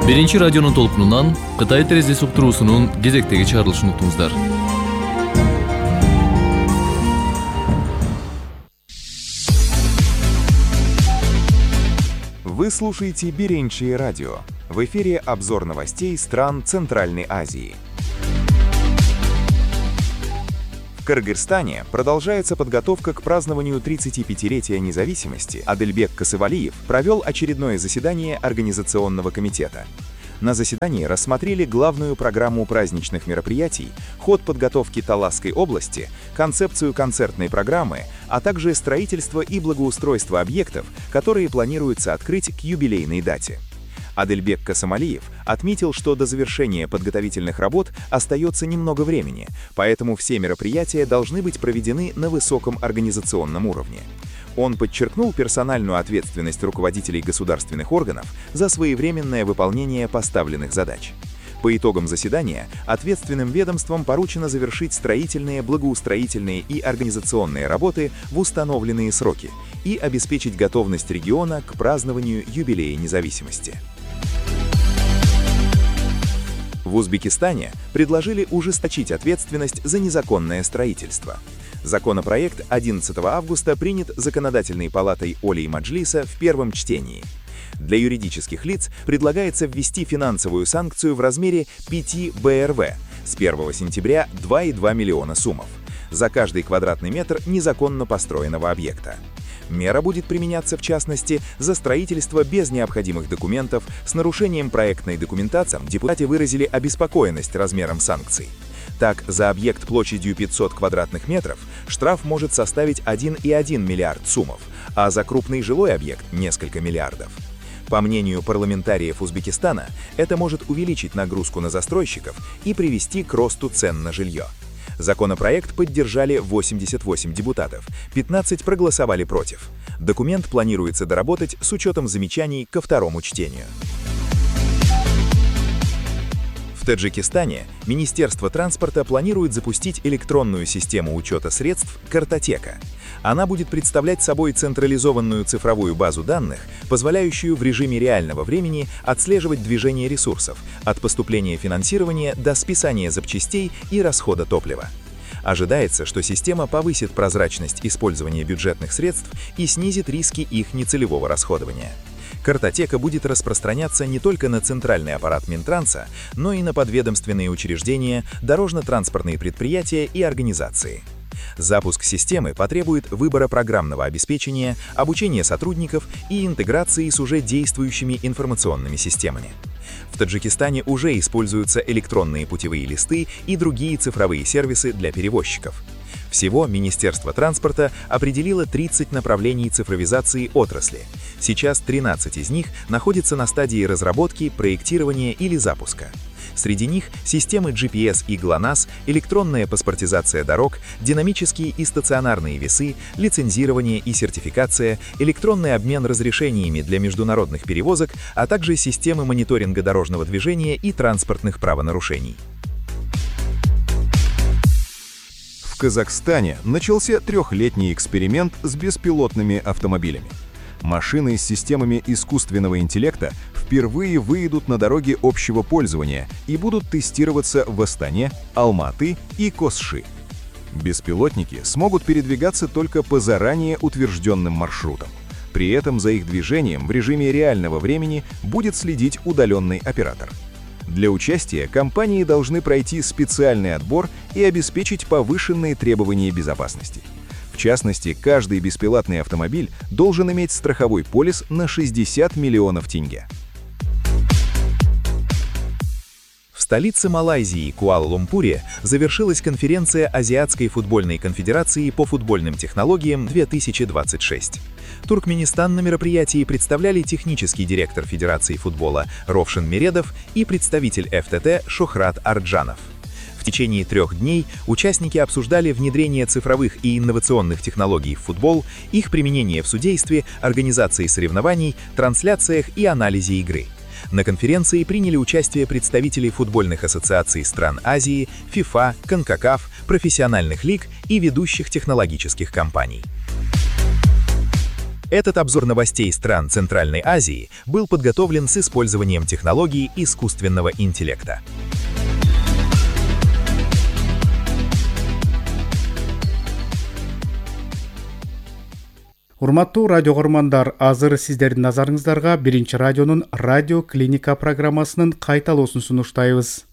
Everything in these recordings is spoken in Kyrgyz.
Биринчи радионун толкунунан Кытай терезеси уктуруусунун кезектеги чыгарылышын уктуңуздар. Вы слушаете Биринчи радио. В эфире обзор новостей стран Центральной Азии. В Кыргызстане продолжается подготовка к празднованию 35-летия независимости. Адельбек Касывалиев провел очередное заседание Организационного комитета. На заседании рассмотрели главную программу праздничных мероприятий, ход подготовки Таласской области, концепцию концертной программы, а также строительство и благоустройство объектов, которые планируется открыть к юбилейной дате. Адельбек Касымалиев отметил, что до завершения подготовительных работ остается немного времени, поэтому все мероприятия должны быть проведены на высоком организационном уровне. Он подчеркнул персональную ответственность руководителей государственных органов за своевременное выполнение поставленных задач. По итогам заседания ответственным ведомствам поручено завершить строительные, благоустроительные и организационные работы в установленные сроки и обеспечить готовность региона к празднованию юбилея независимости. В Узбекистане предложили ужесточить ответственность за незаконное строительство. Законопроект 11 августа принят Законодательной палатой Олий-Маджлиса в первом чтении. Для юридических лиц предлагается ввести финансовую санкцию в размере 5 БРВ с 1 сентября 2,2 миллиона сумов за каждый квадратный метр незаконно построенного объекта. Мера будет применяться в частности за строительство без необходимых документов с нарушением проектной документации. Депутаты выразили обеспокоенность размером санкций. Так, за объект площадью 500 квадратных метров штраф может составить 1,1 миллиард сумов, а за крупный жилой объект – несколько миллиардов. По мнению парламентариев Узбекистана, это может увеличить нагрузку на застройщиков и привести к росту цен на жилье. Законопроект поддержали 88 депутатов, 15 проголосовали против. Документ планируется доработать с учетом замечаний ко второму чтению. В Таджикистане Министерство транспорта планирует запустить электронную систему учета средств «Картотека». Она будет представлять собой централизованную цифровую базу данных, позволяющую в режиме реального времени отслеживать движение ресурсов, от поступления финансирования до списания запчастей и расхода топлива. Ожидается, что система повысит прозрачность использования бюджетных средств и снизит риски их нецелевого расходования. Картотека будет распространяться не только на центральный аппарат Минтранса, но и на подведомственные учреждения, дорожно-транспортные предприятия и организации. Запуск системы потребует выбора программного обеспечения, обучения сотрудников и интеграции с уже действующими информационными системами. В Таджикистане уже используются электронные путевые листы и другие цифровые сервисы для перевозчиков. Всего Министерство транспорта определило 30 направлений цифровизации отрасли. Сейчас 13 из них находятся на стадии разработки, проектирования или запуска. Среди них системы GPS и ГЛОНАСС, электронная паспортизация дорог, динамические и стационарные весы, лицензирование и сертификация, электронный обмен разрешениями для международных перевозок, а также системы мониторинга дорожного движения и транспортных правонарушений. В Казахстане начался трехлетний эксперимент с беспилотными автомобилями. Машины с системами искусственного интеллекта впервые выйдут на дороги общего пользования и будут тестироваться в Астане, Алматы и Косши. Беспилотники смогут передвигаться только по заранее утвержденным маршрутам. При этом за их движением в режиме реального времени будет следить удаленный оператор. Для участия компании должны пройти специальный отбор и обеспечить повышенные требования безопасности. В частности, каждый беспилотный автомобиль должен иметь страховой полис на 60 миллионов тенге. В столице Малайзии, Куала-Лумпуре, завершилась конференция Азиатской футбольной конфедерации по футбольным технологиям 2026. Туркменистан на мероприятии представляли технический директор Федерации футбола Ровшин Мередов и представитель ФТТ Шохрат Арджанов. В течение 3 дней участники обсуждали внедрение цифровых и инновационных технологий в футбол, их применение в судействе, организации соревнований, трансляциях и анализе игры. На конференции приняли участие представители футбольных ассоциаций стран Азии, ФИФА, КОНКАКАФ, профессиональных лиг и ведущих технологических компаний. Этот обзор новостей стран Центральной Азии был подготовлен с использованием технологий искусственного интеллекта. Урматтуу радио көрөрмандар, азыр сиздердин назарыңыздарга Биринчи радионун радио клиника программасынын кайталоосун сунуштайбыз.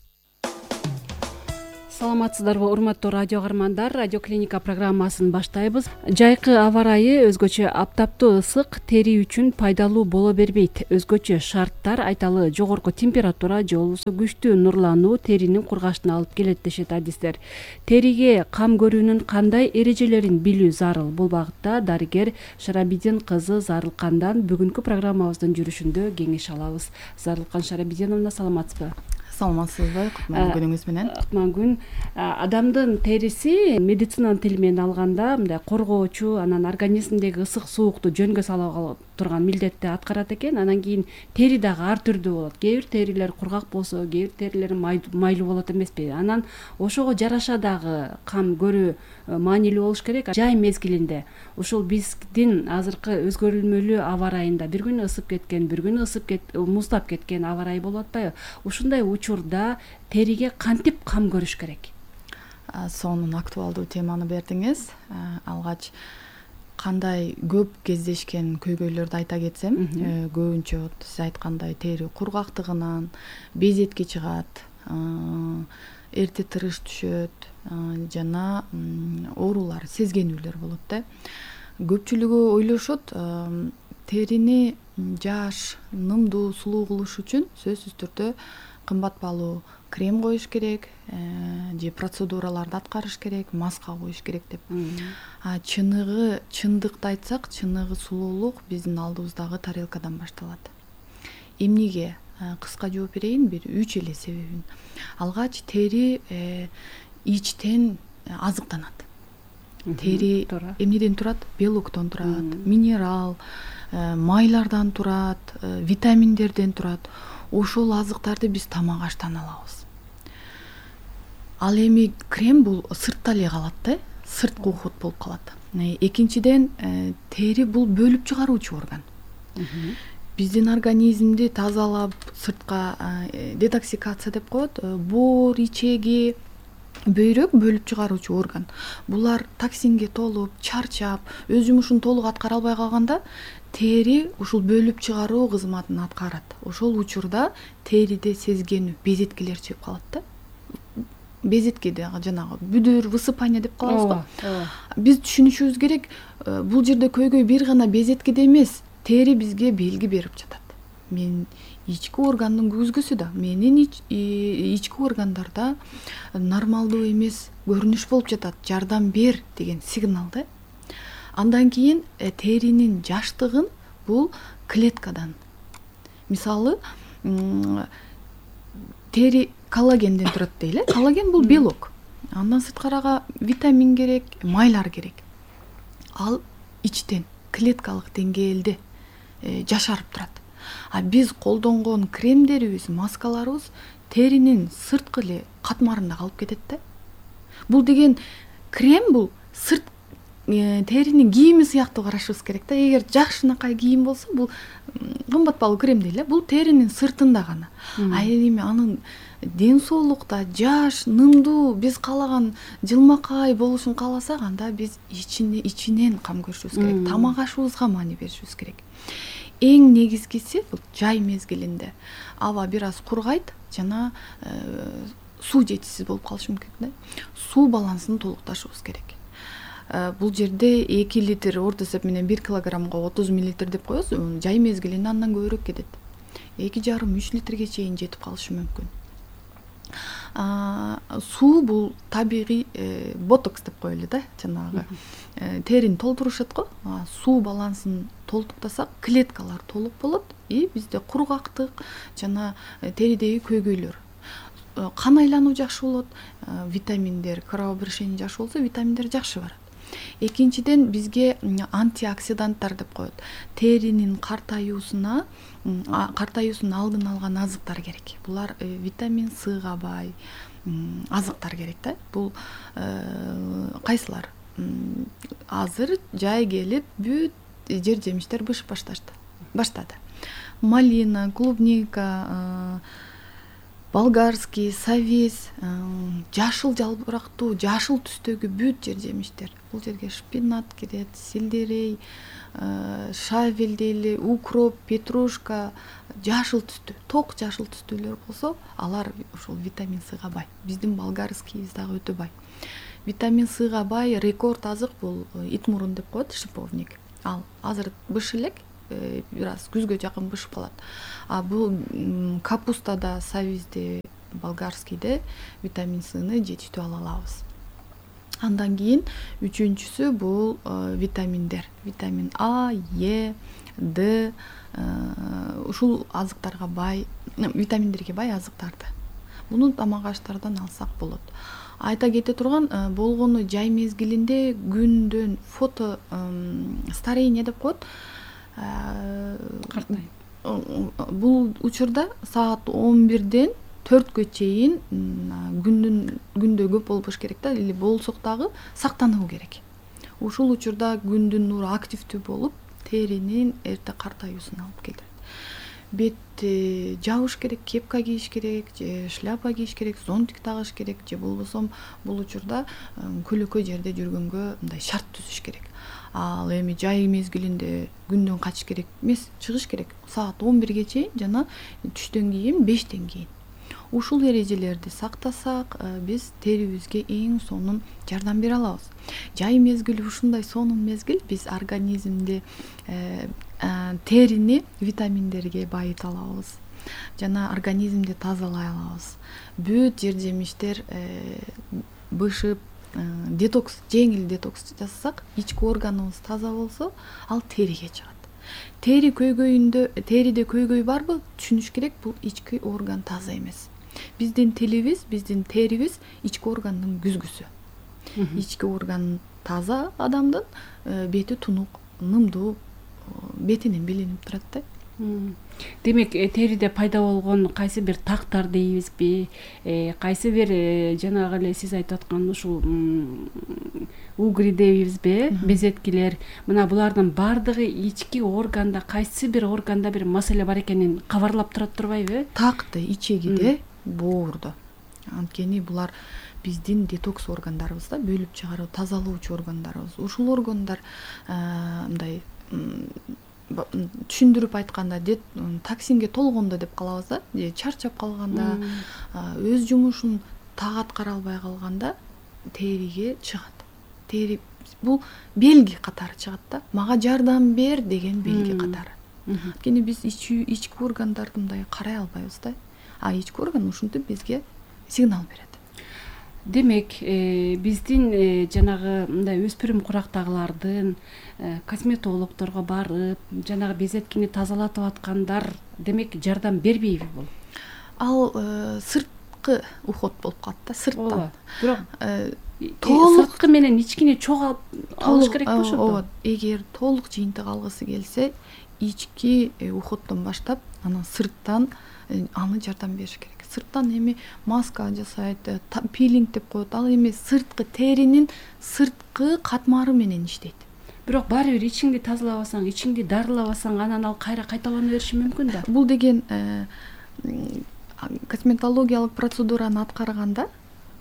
Саламатсыздарбы, урматтуу радио көрөрмандар, радио клиника программасын баштайбыз. Жайкы аба ырайы өзгөчө аптаптуу ысык тери үчүн пайдалуу боло бербейт. Өзгөчө шарттар айталы жогорку температура же болбосо күчтүү нурлануу теринин кургашына алып келет дешет адистер. Териге кам көрүүнүн кандай эрежелерин билүү зарыл. Бул багытта дарыгер Шарабидин кызы Зарылкандан бүгүнкү программабыздын жүрүшүндө кеңеш алабыз. Зарылкан Шарабидиновна, саламатсызбы? Саламатсызбы, кутман күнүңүз менен. Кутман күн. Адамдын териси медицинанын тили менен алганда мындай коргоочу, анан организмдеги ысык суукту жөнгө сала турган милдетти аткарат экен. Анан кийин тери дагы ар түрдүү болот. Кээ бир терилер кургак болсо, кээ бир терилер майлуу болот эмеспи? Анан ошого жараша дагы кам көрүү маанилүү болуш керек. Жай мезгилинде ушул биздин азыркы өзгөрүлмөлүү аба ырайында бир күнү ысып кеткен, бир күнү муздап кеткен аба ырайы болуп атпайбы? Ушундай учурда териге кантип кам көрүш керек? Сонун актуалдуу теманы бердиңиз. Алгач кандай көп кездешкен көйгөйлөрдү айта кетсем, көбүнчө сиз айткандай тери кургактыгынан безетке чыгат, эрте тырыш түшөт, жана оорулар, сезгенүүлөр болот да. Көпчүлүгү ойлошот, терини жаш, нымдуу, сулуу кылыш үчүн сөзсүз түрдө кымбат баалуу крем коюш керек, же процедураларды аткарыш керек, маска коюш керек деп. Чындыкты айтсак, чыныгы сулуулук биздин алдыбыздагы тарелкадан башталат. Эмнеге? Кыска жооп берейин, бир 3 эле себебин. Алгач тери ичтен азыктанат. Тери эмнеден турат? Белоктон турат, минерал, майлардан турат, витаминдерден турат. Ошол азыктарды биз тамак аштан алабыз. Ал эми крем бул сыртта эле калат да, сырткы ухут болуп калат. Экинчиден, тери бул бөлүп чыгаруучу орган. Биздин организмди тазалап, сыртка детоксикация деп коет, боор, ичеги, бөйрөк бөлүп чыгаруучу орган. Булар токсинге толуп, чарчап, өз жумушун толук аткара албай калганда, тери ушул бөлүп чыгаруу кызматын аткарат. Ошол учурда териде сезгенүү, безеткелер чыгып калат да. Безеткеде жанагы бүдүр, высыпание деп калабыз го. Биз түшүнүшүбүз керек, бул жерде көйгөй бир гана безеткеде эмес, тери бизге белги берип жатат. Мен ички органдын көзгөсү да, менин ички органдарда нормалдуу эмес көрүнүш болуп жатат, жардам бер деген сигнал да. Андан кийин теринин жаштыгын бул клеткадан. Мисалы, тери коллагенден турат дейле. Коллаген бул белок. Андан сырткарага витамин керек, майлар керек. Ал ичтен клеткалык деңгээлде жашарып турат. Биз колдонгон кремдерибиз, маскаларыбыз теринин сырткы эле катмарында калып кетет да. Бул деген крем бул сырт теринин кийими сыяктуу карашыбыз керек да. Эгер жакшынакай кийим болсо, бул кымбат баалуу крем дейле, бул теринин сыртында гана. Эми анын ден соолукта жаш, нымдуу, биз каалаган жылмакай болушун кааласак, анда биз ичинен кам көрүшүбүз керек. Тамак ашыбызга маани беришибиз керек. Эң негизгиси бул жай мезгилинде аба бир аз кургайт, жана суу жетишсиз болуп калышы мүмкүн да. Суу балансын толукташыбыз керек. Бул жерде 2 литр орто эсеп менен 1 килограммга 30 мл деп коебуз. Жай мезгилинде андан көбүрөөк кетет. 2,5-3 литрге чейин жетип калышы мүмкүн. Суу бул табигый ботокс деп коелу да, жанагы терини толтурушат го. Суу балансын толуктасак, клеткалар толук болот и бизде кургактык жана теридеги көйгөйлөр, кан айлануу жакшы болот, витаминдер, кровообращение жакшы болсо, витаминдер жакшы барат. Экинчиден бизге антиоксиданттар деп коет. Теринин картаюусун алдын алган азыктар керек. Булар витамин С-га бай азыктар керек да. Бул кайсылар? Азыр жай келип бүт жер жемиштер бышып баштады. Малина, клубника, болгарский, совес, жашыл жалбырактуу, жашыл түстөгү бүт жер жемиштер. Бул жерге шпинат кирет, сельдерей, шавель дейли, укроп, петрушка, жашыл түстүү, ток жашыл түстүүлөр болсо, алар ушул витамин С-га бай. Биздин болгарскийибиз дагы өтө бай. Витамин С-га бай рекорд азык бул ит мурун деп коет, шиповник. Ал азыр быш элек, бир аз күзгө жакын бышып калат. А бул капустада, совизде, болгарскийде витамин С-ны жетиштүү ала алабыз. Андан кийин үчүнчүсү бул витаминдер. Витамин А, Е, Д, ушул азыктарга бай, витаминдерге бай азыктарды. Муну тамак аштардан алсак болот. Айта кете турган болгону жай мезгилинде күндөн фото старение деп коет. Картайып. Бул учурда саат 11-ден 4-кө чейин күндө көп болбош керек да, или болсок дагы сактануу керек. Ушул учурда күндүн нуру активдүү болуп, теринин эрте картаюусуна алып келет. Бетти жабыш керек, кепка кийиш керек, же шляпа кийиш керек, зонтик тагыш керек, же болбосо бул учурда көлөкөй жерде жүргөнгө мындай шарт түзүш керек. Ал эми жай мезгилинде күндөн качыш керек эмес, чыгыш керек. Саат 11-ге чейин жана түштөн кийин 5-тен кийин. Ушул эрежелерди сактасак, биз терибизге эң сонун жардам бере алабыз. Жай мезгили ушундай сонун мезгил, биз организмди, терини витаминдерге байыта алабыз. Жана организмди тазалай алабыз. Бүт жер жемиштер бышып, детокс, жеңил детокс жасасак, ички органыбыз таза болсо, ал териге чыгат. Тери көйгөйүндө, териде көйгөй барбы? Түшүнүш керек, бул ички орган таза эмес. Биздин тилибиз, биздин терибиз ички органдын күзгүсү. Ички орган таза адамдын бети тунук, нымдуу, бетинен билинип турат да. Демек, териде пайда болгон кайсы бир тактар дейбизби, кайсы бир жанагы эле сиз айтып аткан ушул угри дейбизби, безеткилер, мына булардын баардыгы ички органда, кайсы бир органда бир маселе бар экенин кабарлап турат турбайбы? Такты, ичегиде, боордо. Анткени булар биздин детокс органдарыбыз да, бөлүп чыгаруу, тазалоочу органдарыбыз. Ушул органдар мындай түшүндүрүп айтканда токсинге толгондо деп калабыз да, же чарчап калганда, өз жумушун так аткара албай калганда териге чыгат. Тери бул белги катары чыгат да. Мага жардам бер деген белги катары. Анткени биз ички органдарды мындай карай албайбыз да. А ички орган ушинтип бизге сигнал берет. Демек, биздин жанагы мындай өспүрүм курактагылардын косметологдорго барып, жанагы безеткини тазалатып аткандар, демек, жардам бербейби бул? Ал сырткы уход болуп калат да, сырттан. Бирок сырткы менен ичкини чогуу алыш керек болушот. Ооба, эгер толук жыйынтык алгысы келсе, ички уходдон баштап, анан сырттан аны жардам бериш керек. Сырттан эми маска жасайт, пилинг деп коет. Ал эми сырткы теринин сырткы катмары менен иштейт. Бирок баары бир ичиңди тазалабасаң, ичиңди дарылабасаң, анан ал кайра кайталана бериши мүмкүн да. Бул деген косметологиялык процедураны аткарганда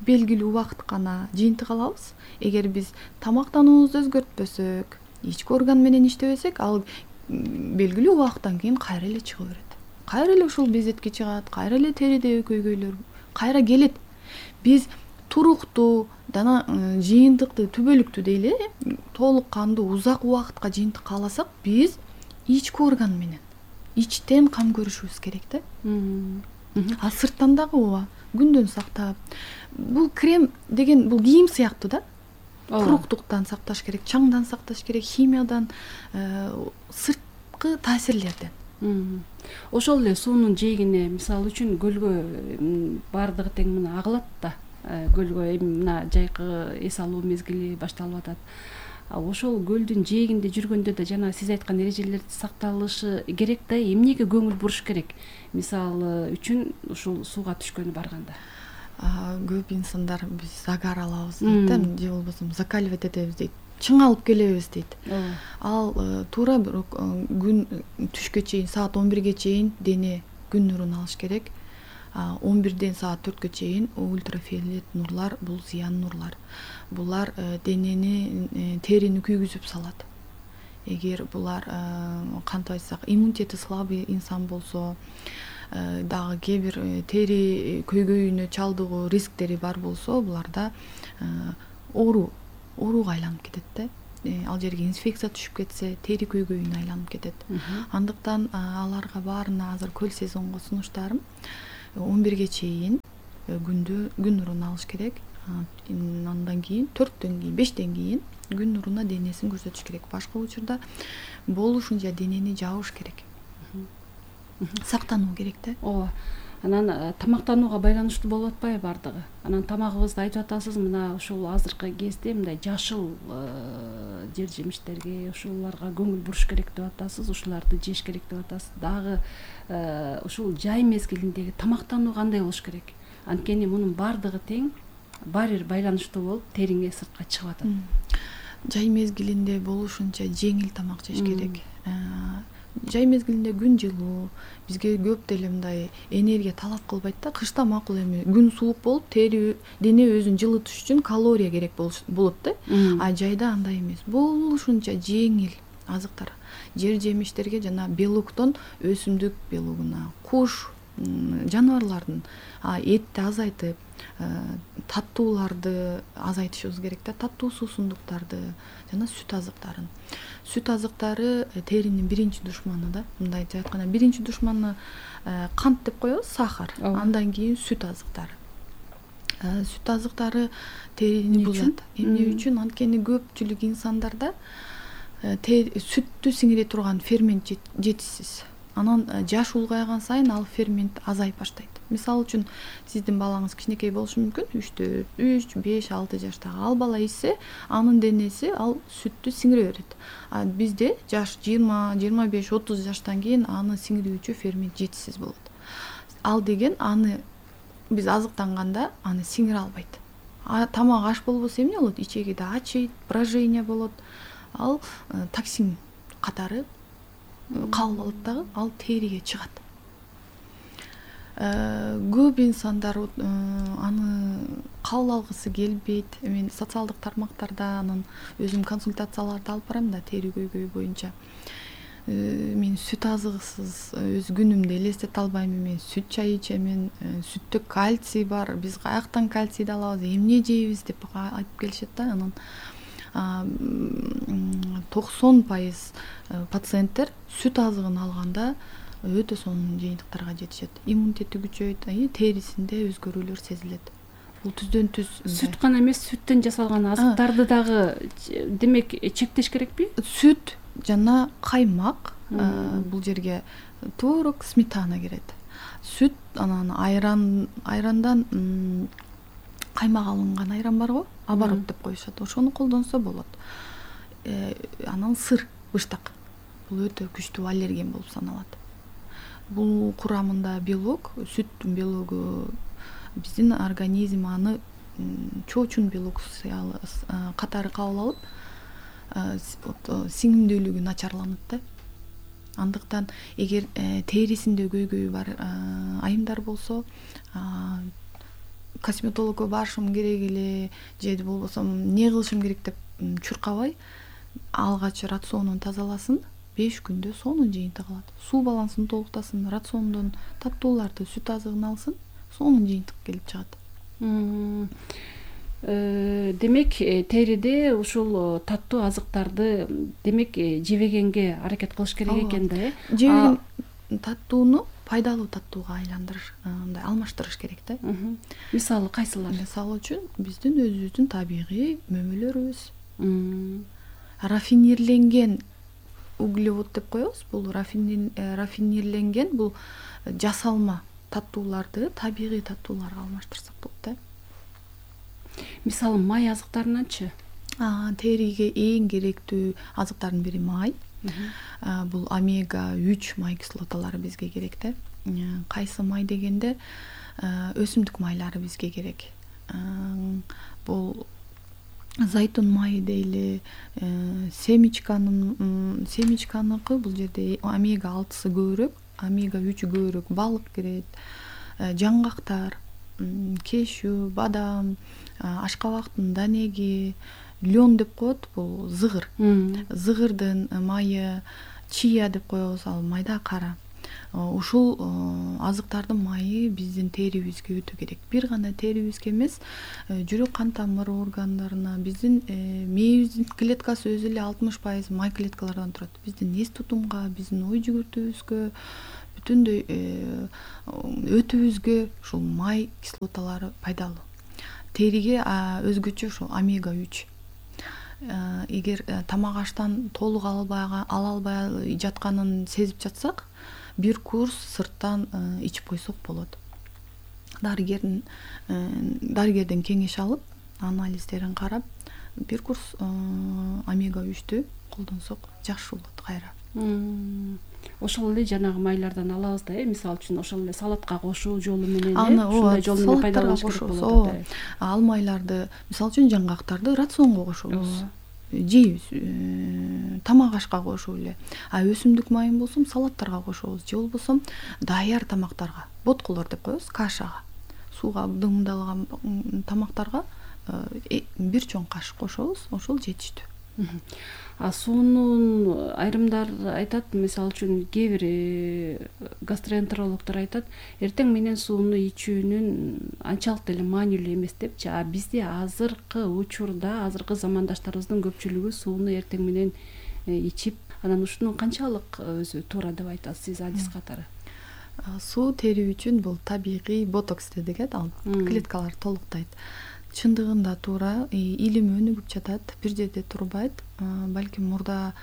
белгилүү убакыт гана жыйынтык алабыз. Эгер биз тамактануубузду өзгөртпөсөк, ички орган менен иштебесек, ал белгилүү убакыттан кийин кайра эле чыга берет. Кайра эле ушул безетке чыгат, кайра эле теридеги көйгөйлөр кайра келет. Биз туруктуу, жана жыйынтыкты, түбөлүктүү дейли, толук кандуу узак убакытка жыйынтык кааласак, биз ички орган менен ичтен кам көрүшүбүз керек да. А сырттан дагы ооба, күндөн сактап. Бул крем деген бул кийим сыяктуу да. Куруктуктан сакташ керек, чаңдан сакташ керек, химиядан, сырткы таасирлерден. Ошол эле суунун жээгине, мисалы үчүн көлгө баардыгы тең мына агылат да. Көлгө эми мына жайкы эс алуу мезгили башталып атат. Ошол көлдүн жээгинде жүргөндө да жана сиз айткан эрежелер сакталышы керек да, эмнеге көңүл буруш керек? Мисалы үчүн ушул сууга түшкөнү барганда. Көп инсандар биз загар алабыз дейт да, же болбосо закаливать этебиз дейт. чыңалып келебиз дейт. Ал туура бирок күн түшкө чейин, саат 11ге чейин дене күн нурун алыш керек. 11ден саат 4кө чейин ультрафиолет нурлар бул зыян нурлар. Булар денени, терини күйгүзүп салат. Эгер булар кантип айтсак, иммунитети слабый инсан болсо, дагы кээ бир тери көйгөйүнө чалдыгуу рисктери бар болсо, буларда ооруга айланып кетет да. Ал жерге инфекция түшүп кетсе, тери көйгөйүнө айланып кетет. Андыктан аларга баарына азыр көл сезонго сунуштарым 11ге чейин күн нурун алыш керек. Андан кийин 4дөн кийин, 5ден кийин күн нуруна денесин көрсөтүш керек. Башка учурда болушунча денени жабыш керек. Сактануу керек да. Ооба. Анан тамактанууга байланыштуу болуп атпайбы бардыгы? Анан тамагыбызды айтып атасыз, мына ушул азыркы кезде мындай жашыл жер жемиштерге, ушуларга көңүл буруш керек деп атасыз, ушуларды жеш керек деп атасыз. Дагы ушул жай мезгилиндеги тамактануу кандай болуш керек? Анткени мунун бардыгы тең баары бир байланыштуу болуп, териңе сыртка чыгып атат. Жай мезгилинде болушунча жеңил тамак жеш керек. Жай мезгилинде күн жылуу, бизге көп деле мындай энергия талап кылбайт да. Кышта макул эми күн суук болуп, дене өзүн жылытыш үчүн калория керек болот да. А жайда андай эмес. Болушунча жеңил азыктар, жер жемиштерге жана белоктон өсүмдүк белогуна, куш, жаныбарлардын этти азайтып, таттууларды азайтышыбыз керек да. Таттуу суусундуктарды жана сүт азыктарын. Сүт азыктары теринин биринчи душманы да. Мындайча айтканда, биринчи душманы кант деп коебуз, сахар. Андан кийин сүт азыктары. Сүт азыктары терини бузат. Эмне үчүн? Анткени көпчүлүк инсандарда сүттү сиңире турган фермент жетишсиз. Анан жаш улгайган сайын ал фермент азайып баштайт. Мисалы үчүн сиздин балаңыз кичинекей болушу мүмкүн, 3, 5, 6 жаштагы. Ал бала ичсе, анын денеси ал сүттү сиңире берет. А бизде жаш 20, 25, 30 жаштан кийин аны сиңирүүчү фермент жетишсиз болот. Ал деген аны биз азыктанганда аны сиңире албайт. Тамак аш болбосо эмне болот? Ичегиде ачыйт, брожение болот. Ал токсин катары кабыл алат дагы, ал териге чыгат. Көп инсандар аны кабыл алгысы келбейт. Мен социалдык тармактарда анан өзүм консультацияларды алып барам да, тери көйгөйү боюнча. Мен сүт азыгысыз өз күнүмдү элестете албайм. Мен сүт чай ичемин, сүттө кальций бар, биз каяктан кальцийди алабыз, эмне жейбиз деп айтып келишет да. Анан 90% пациенттер сүт азыгын алганда өтө сонун жыйынтыктарга жетишет. Иммунитети күчөйт, терисинде өзгөрүүлөр сезилет. Бул түздөн түз. Сүт гана эмес, сүттөн жасалган азыктарды дагы демек чектеш керекпи? Сүт жана каймак, бул жерге творог, сметана кирет. Сүт, анан айрандан каймак алынган айран барго, оборот деп коюшат. Ошону колдонсо болот. Анан сыр, быштак. Бул өтө күчтүү аллерген болуп саналат. Бул курамында белок, сүттүн белогу, биздин организм аны чоочун белок катары кабыл алып, сиңимдүүлүгү начарланат да. Андыктан эгер терисинде көйгөйү бар айымдар болсо, косметологко барышым керек эле, же болбосо эмне кылышым керек деп чуркабай, алгач рационун тазаласын, 5 күндө сонун жыйынтык алат. Суу балансын толуктасын, рациондон таттууларды, сүт азыгын алсын, сонун жыйынтык келип чыгат. Демек, териде ушул таттуу азыктарды демек жебегенге аракет кылыш керек экен да, э? Жебеген таттууну пайдалуу таттууга айландырыш, мындай алмаштырыш керек да. Мисалы кайсылар? Мисалы үчүн биздин өзүбүздүн табигый мөмөлөрүбүз. Рафинирленген углевод деп коебуз. Бул рафинирленген бул жасалма таттууларды табигый таттууларга алмаштырсак болот да. Мисалы май азыктарынанчы? Териге эң керектүү азыктардын бири май. Бул омега 3 май кислоталары бизге керек да. Кайсы май дегенде өсүмдүк майлары бизге керек. Бул зайтун майы дейли, семечканыкы бул жерде омега 6 көбүрөөк, омега 3 көбүрөөк, балык кирет, жаңгактар, кешью, бадам, ашкабактын данеги, лен деп коет, бул зыгыр. Зыгырдын майы, чия деп коебуз, ал майда кара. Ушул азыктардын майы биздин терибизге өтө керек. Бир гана терибизге эмес, жүрөк кан тамыр органдарына, биздин мээбиздин клеткасы өзү эле 60% май клеткалардан турат. Биздин эс тутумга, биздин ой жүгүртүүбүзгө, бүтүндөй өтүбүзгө ушул май кислоталары пайдалуу. Териге өзгөчө ушул омега 3. Эгер тамак аштан толук ала албай жатканын сезип жатсак, бир курс сырттан ичип койсок болот. Дарыгерден кеңеш алып, анализдерин карап, бир курс омега 3тү колдонсок жакшы болот кайра. Ошол эле жанагы майлардан алабыз да, мисалы үчүн ошол эле салатка кошуу жолу менен, ушундай жол менен пайдаланыш керек болот. Ал майларды, мисалы үчүн жаңгактарды рационго кошобуз. Жейбиз, тамак ашка кошуп эле. Өсүмдүк майын болсо салаттарга кошобуз, же болбосо даяр тамактарга, ботколор деп коебуз, кашага, сууга дымдалган тамактарга бир чоң кашык кошобуз, ошол жетиштүү. Суунун айрымдар айтат, мисалы үчүн кээ бир гастроэнтерологдор айтат, эртең менен сууну ичүүнүн анчалык деле маанилүү эмес депчи. Бизде азыркы учурда, азыркы замандаштарыбыздын көпчүлүгү сууну эртең менен ичип, анан ушунун канчалык өзү туура деп айтасыз сиз адис катары? Суу тери үчүн бул табигый ботокс дегет, ал клеткалар толуктайт. Чындыгында туура, илим өнүгүп жатат, бир жерде турбайт. Балким мурда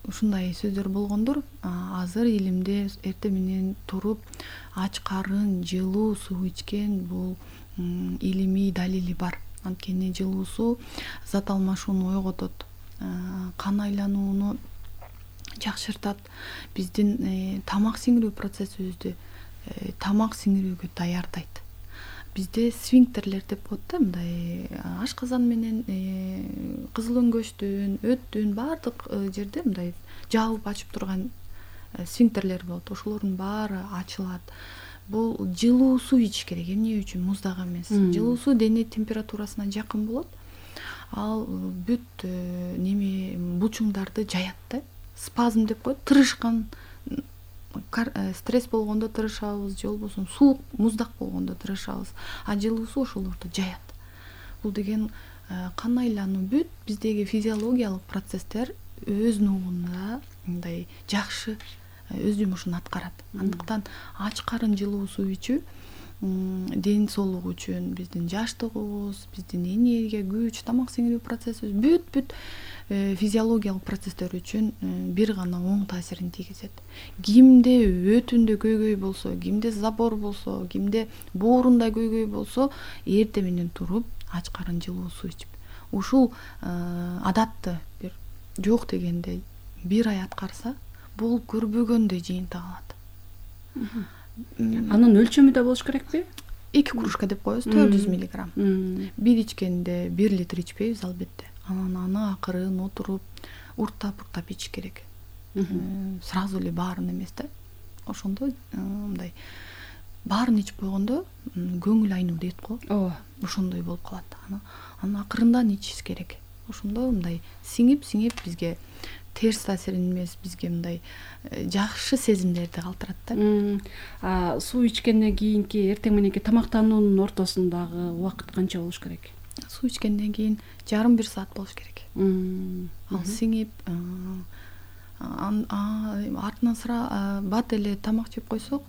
ушундай сөздөр болгондур. Азыр илимде эртең менен туруп ач карын жылуу суу ичкен бул илимий далили бар. Анткени жылуу суу зат алмашууну ойготот, кан айланууну жакшыртат, биздин тамак сиңирүү процессибизди тамак сиңирүүгө даярдайт. Бизде сфинктерлер деп коет да, мындай ашказан менен кызыл өңгөчтүн, өттүн баардык жерде мындай жаап ачып турган сфинктерлер болот. Ошолордун баары ачылат. Бул жылуу суу ичиш керек. Эмне үчүн? Муздак эмес. Жылуу суу дене температурасына жакын болот. Ал бүт булчуңдарды жаят да. Спазм деп коет, тырышкан, стресс болгондо тырышабыз, же болбосо суук, муздак болгондо тырышабыз. Жылуу суу ошолорду жаят. Бул деген кан айлануу, бүт биздеги физиологиялык процесстер өз нугунда мындай жакшы өз жумушун аткарат. Андыктан ач карын жылуу суу ичүү ден соолук үчүн, биздин жаштыгыбыз, биздин энергия, күч, тамак сиңирүү процессибиз, бүт физиологиялык процесстер үчүн бир гана оң таасирин тийгизет. Кимде өтүндө көйгөй болсо, кимде забор болсо, кимде боорунда көйгөй болсо, эртең менен туруп ач карын жылуу суу ичип, ушул адатты бир жок дегенде бир ай аткарса, бул көрбөгөндөй жыйынтык алат. Анын өлчөмү да болуш керекпи? 2 кружка деп коебуз, 400 миллиграмм. Бир ичкенде 1 литр ичпейбиз албетте. Анан аны акырын отуруп, уртап ичиш керек. Сразу эле баарын эмес да. Ошондо мындай баарын ичип койгондо көңүл айнуу дейт го. Ошондой болуп калат. Аны акырындан ичиш керек. Ошондо мындай сиңип бизге терс таасирин эмес, бизге мындай жакшы сезимдерди калтырат да. Суу ичкенден кийинки эртең мененки тамактануунун ортосундагы убакыт канча болуш керек? Суу ичкенден кийин жарым-1 саат болуш керек. Ал сиңип, артынан сыра бат эле тамак жеп койсок,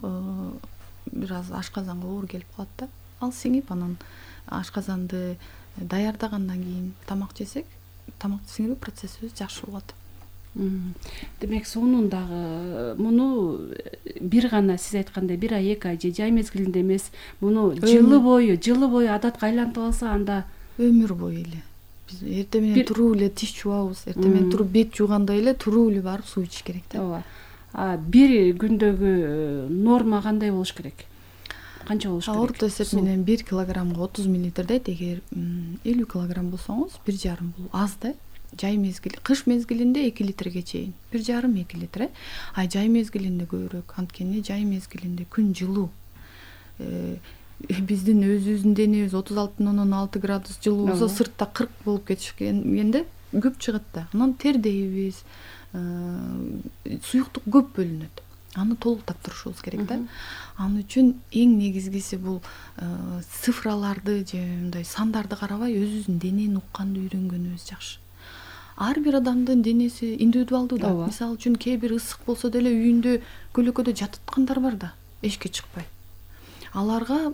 бир аз ашказанга оор келип калат да. Ал сиңип, анан ашказанды даярдагандан кийин тамак жесек, тамакты сиңирүү процессибиз жакшы болот. Демек суунун дагы муну бир гана сиз айткандай 1 ай 2 ай же жай мезгилинде эмес, муну жылы бою адатка айлантып алса, анда өмүр бою эле. Биз эртең менен туруп эле тиш жуабыз, эртең менен туруп бет жуугандай эле туруп эле барып суу ичиш керек да. Бир күндөгү норма кандай болуш керек? канча болуш керек? Орто эсеп менен 1 килограммга 30 мл дейт. Эгер 50 килограмм болсоңуз 1,5 бул аз да. Жай мезгил, кыш мезгилинде 2 литрге чейин, 1,5-2 литр. А жай мезгилинде көбүрөөк, анткени жай мезгилинде күн жылуу. Биздин өзүбүздүн денебиз 36,6 градус жылуу болсо, сыртта 40 болуп кетишкенде көп чыгат да. Анан тердейбиз, суюктук көп бөлүнөт. Аны толуктап турушубуз керек да. Анын үчүн эң негизгиси бул цифраларды же мындай сандарды карабай өзүбүздүн денени укканды үйрөнгөнүбүз жакшы. Ар бир адамдын денеси индивидуалдуу да. Мисалы үчүн кээ бир ысык болсо деле үйүндө көлөкөдө жататкандар бар да, эшикке чыкпай. Аларга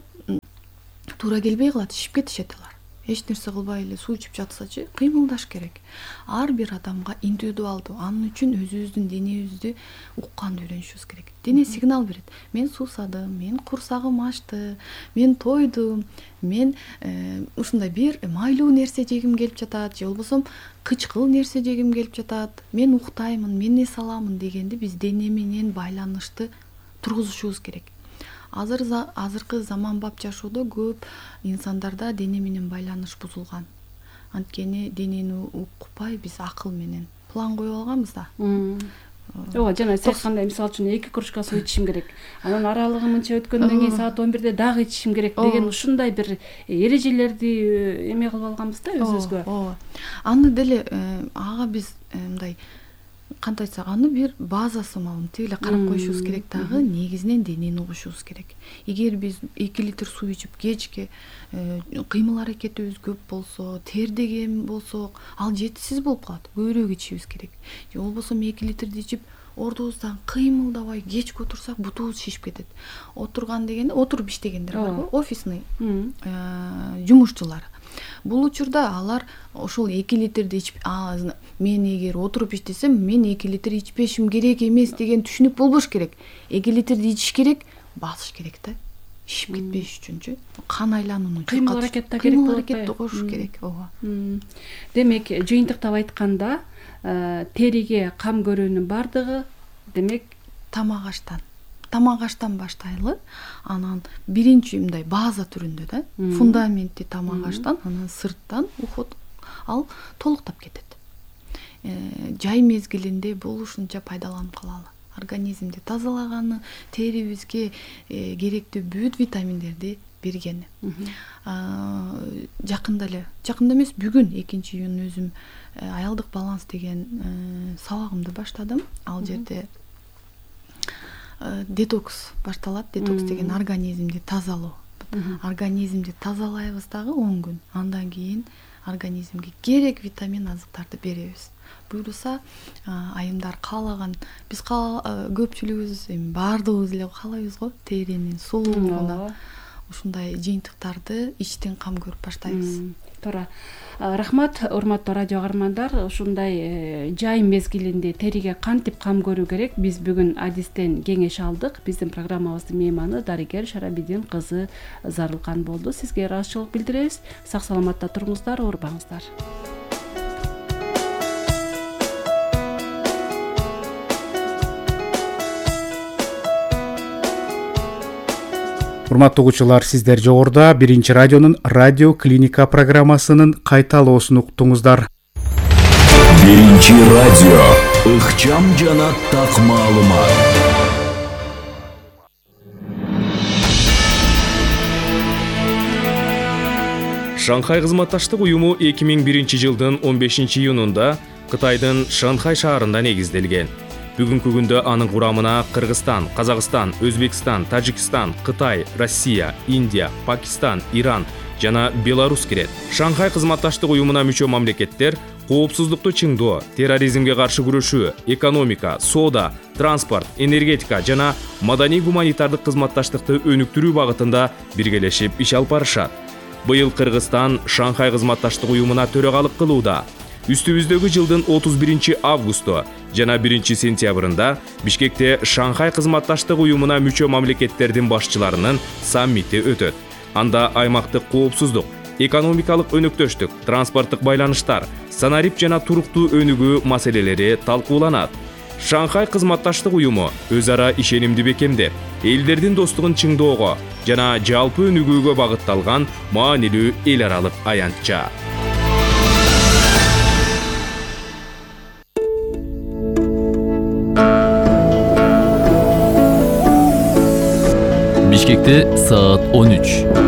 туура келбей калат, ишип кетишет алар. Эч нерсе кылбай эле суу ичип жатсачы, кыймылдаш керек. Ар бир адамга индивидуалдуу. Анын үчүн өзүбүздүн денебизди укканды үйрөнүшүбүз керек. Дене сигнал берет. Мен суусадым, мен курсагым ачты, мен тойдум, мен ушундай бир майлуу нерсе жегим келип жатат, же болбосо кычкыл нерсе жегим келип жатат, мен уктаймын, мен эс аламын дегенди биз дене менен байланышты тургузушубуз керек. Азыркы заманбап жашоодо көп инсандарда дене менен байланыш бузулган. Анткени денени укпай биз акыл менен план коюп алганбыз да. Ооба, жана сиз айткандай, мисалы үчүн 2 кружка суу ичишим керек. Анан аралыгы мынча өткөндөн кийин саат 11-де дагы ичишим керек деген ушундай бир эрежелерди эме кылып алганбыз да өзүбүзгө. Ооба. Аны деле ага биз мындай кантип айтсак, аны бир базасы малым тиги карап коюшубуз керек дагы, негизинен денени угушубуз керек. Эгер биз 2 литр суу ичип кечке кыймыл аракетибиз көп болсо, тердеген болсок, ал жетишсиз болуп калат. Көбүрөөк ичишибиз керек. Же болбосо 2 литрди ичип ордубуздан кыймылдабай кечке отурсак, бутубуз шишип кетет. Отурган дегенде отуруп иштегендер барбы? Офисный жумушчулар. Бул учурда алар ошол 2 литрди ичип, мен эгер отуруп иштесем, мен 2 литр ичпешим керек эмес деген түшүнүк болбош керек. 2 литрди ичиш керек, басыш керек да. Ишип кетпеш үчүнчү. Кан айланууну кыймыл аракетте керек болот. Кыймыл аракетти коюш керек. Ооба. Демек, жыйынтыктап айтканда, териге кам көрүүнүн бардыгы демек тамак аштан баштайлы. Анан биринчи мындай база түрүндө да, фундаменти тамак аштан, анан сырттан уход ал толуктап кетет. Жай мезгилинде бул ушунча пайдаланып калалы. Организмди тазалаганы, терибизге керектүү бүт витаминдерди бергени. Жакында эмес, бүгүн 2-июнь өзүм аялдык баланс деген сабагымды баштадым. Ал жерде детокс башталат. Детокс деген организмди тазалоо. Организмди тазалайбыз дагы 10 күн. Андан кийин организмге керек витамин азыктарды беребиз. Буюрса, айымдар каалаган, биз көпчүлүгүбүз баардыгыбыз эле каалайбыз го, теринин сулуулугуна ушундай жыйынтыктарды ичтен кам көрүп баштайбыз. Туура. Рахмат, урматтуу радио каармандар. Ушундай жай мезгилинде териге кантип кам көрүү керек? Биз бүгүн адистен кеңеш алдык. Биздин программабыздын мейманы дарыгер Шарабидин кызы Зарылкан болду. Сизге ыраазычылык билдиребиз. Сак саламатта туруңуздар, оорубаңыздар. Урматтуу угуучулар, сиздер жогоруда Биринчи радионун радио клиника программасынын кайталоосун уктуңуздар. Биринчи радио, ыкчам жана так маалымат. Шанхай кызматташтык уюму 2001 жылдын 15 июнунда Кытайдын Шанхай шаарында негизделген. Бүгүнкү күндө анын курамына Кыргызстан, Казакстан, Өзбекстан, Тажикстан, Кытай, Россия, Индия, Пакистан, Иран жана Беларусь кирет. Шанхай кызматташтык уюмуна мүчө мамлекеттер коопсуздукту чыңдоо, терроризмге каршы күрөшүү, экономика, соода, транспорт, энергетика жана маданий-гуманитардык кызматташтыкты өнүктүрүү багытында биргелешип иш алып барышат. Быйыл Кыргызстан Шанхай кызматташтык уюмуна төрөгалык кылууда. Үстүбүздөгү жылдын 31 августу жана 1 сентябрында Бишкекте Шанхай кызматташтык уюмуна мүчө мамлекеттердин башчыларынын саммити өтөт. Анда аймактык коопсуздук, экономикалык өнөктөштүк, транспорттук байланыштар, санарип жана туруктуу өнүгүү маселелери талкууланат. Шанхай кызматташтык уюму өз ара ишенимди бекемдеп, элдердин достугун чыңдоого жана жалпы өнүгүүгө багытталган маанилүү эл аралык аянтча. Бишкекте саат 13.